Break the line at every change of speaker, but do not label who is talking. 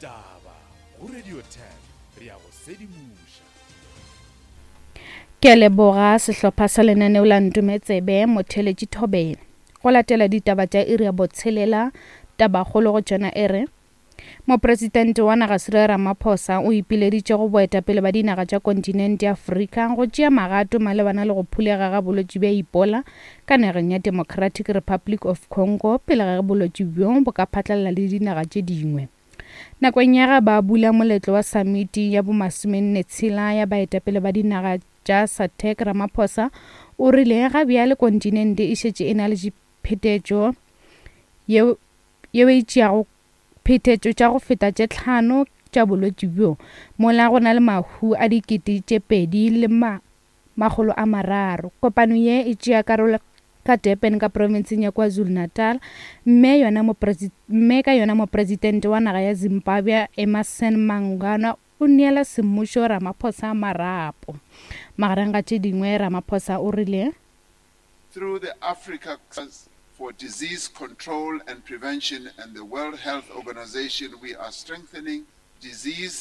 Ditaba go Radio 10 re a go sedimoša.
Ke a leboga sehlopha sa lenaneo la Ntometsebe Motheletši Thobela. Go latela ditaba tša iri ya botshelela, tabakgolo go tšona e re, Mopresidente wa naga Cyril Ramaphosa o ipileditše go boetapele ba dinaga tša kontinente ya Afrika go tšea magato malebana le go phulega ga bolwetši bja Ebola ka nageng ya Democratic Republic of Congo pele ga ge bolwetši bjo bo ka phatlalala le dinaga tše dingwe. Nakong ya ge ba bula moletlo wa samiti ya bomasomenne-tshela ya baetapele ba dinaga tša SADC, Ramaphosa o rile ga bjale kontinente e šetše e na le phetetšo yeo yeo e tšeago phetetšo tša go feta tše tlhano tša bolwetši bjo, mola go na le mahu a 2300. Kopano ye e tšea karolo ka Durban ka profenseng ya KwaZulu-Natal, mme yona mme ka yona mopresidente wa naga ya Zimbabwe Emmerson Mnangagwa o neela semmušo Ramaphosa marapo. Magareng ga tše dingwe Ramaphosa o rile.
Through the Africa for Disease Control and Prevention and the World Health Organization, we are strengthening disease.